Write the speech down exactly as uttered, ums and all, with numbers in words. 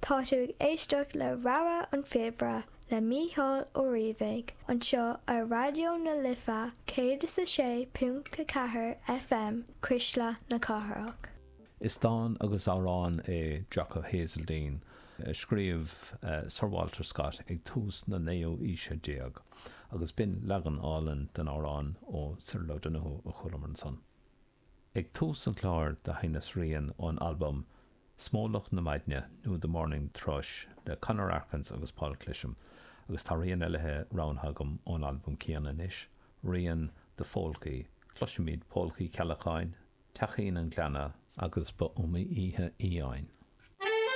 Tá tú ag éisteacht le Rogha an Phíobaire le Mícheál Ó Riabhaigh anseo ar Raidió na Life céad is a sé ponc ceathair FM Cuisle na Cathrach. Is dán agus amhrán é Jock of Hazeldean a scríobh uh, Sir Walter Scott ag tús na naoú haoise déag, agus b'in leagan álainn den amhrán ó Cyril O'Donoghue a chualamar ansan. Ag tús an chláir do sheinneas rian ón albam Smólach na Maidne nó The Morning Thrush le Conor Arkins agus Paul Clisham, agus tá rian eile roghnaithe agam ón albam céanna anois, rian de phólcaí, Cloisfimid Pólcaí Ceallacháin, Teachín an Ghleanna agus ba iomaí oíche fhiáin.